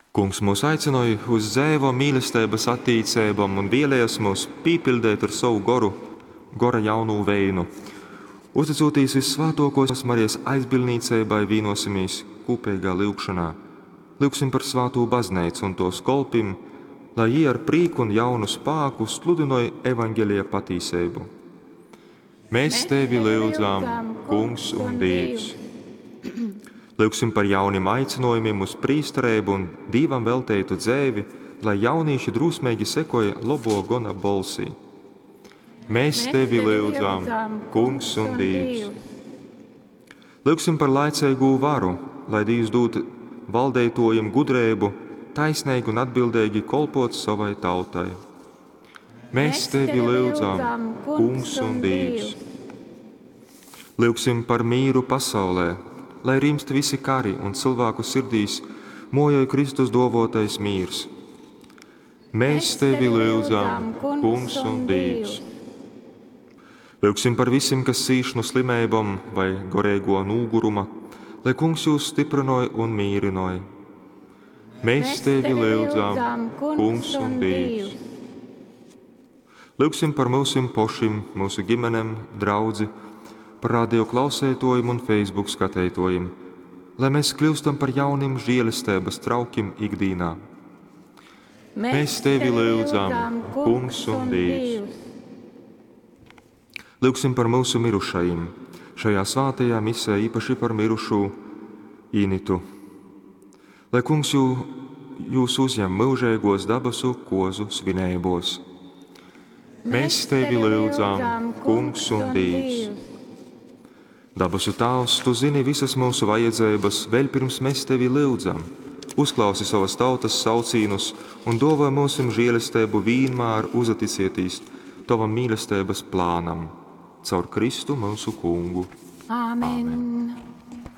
Kungs mūs aicynoj uz dzeivom mīlesteibas attīceibom un vēlejas myus pīpiļdeit ar sovu goru, gora jaunū veinu. Uztycūtīs vyssvātōkōs Marijas aizbildnīceibai, vīnōsimīs kūpeigā lyugšonā. Lyugsim par svātū Bazneicu un tōs kolpim, lai jī ar prīku un jaunu spāku sludynoj Evaņgelija patīseibu. Mēs tevi lyudzam, Kungs un Dīvs. Lyugsim par jaunim aicinojumim uz prīstereibu un Dīvam velteitu dzeivi, lai jaunīši drūsmeigi sekoj lobo gona bolsī. Mēs tevi lyudzam, Kungs un Dīvs. Lyugsim par laiceigū varu, lai Dīvs dūd valdeitōjim gudreibu, taisneigi un atbildeigi kolpot savai tautai. Mēs tevi lyudzam, Kungs un Dīvs. Lyugsim par mīru pasaulē, lai rimst visi kari un cilvēku sirdīs mojoj Kristus duovuotais mīrs. Mēs tevi lyudzam, Kungs un Dīvs. Lyugsim par visim, kas cīš no slimeibom vai goreigo nūguruma, lai Kungs jūs stiprynoj un mīrynoj. Mēs tevi lyudzam, Kungs un Dīvs. Lyugsim par myusim pošim, mūsu ģimenem, draudzi, par radio klausētojiem un Facebook skateitōjim, lai mēs kļūstam par jaunim žēlestības traukim ikdīnā. Mēs tevi lyudzam, Kungs un Dīvs. Lyugsim par mūsu mirušajiem, šajā svātajā misē īpaši par mirušū Initu. Lai Kungs jū, jūs uzņem mūžīgos dabasu kozu svineibos. Mēs tevi lyudzam, Kungs un Dīvs. Dabasu Tāvs, Tu zini visas mūsu vajadzības, vēl pirms mēs Tevi lyudzam. Uzklausi savas tautas saucīnus un dāvā mūsim žēlestību vienmēr uzaticieties Tavam mīlestības plānam. Caur Kristu mūsu Kungu. Āmen. Amen.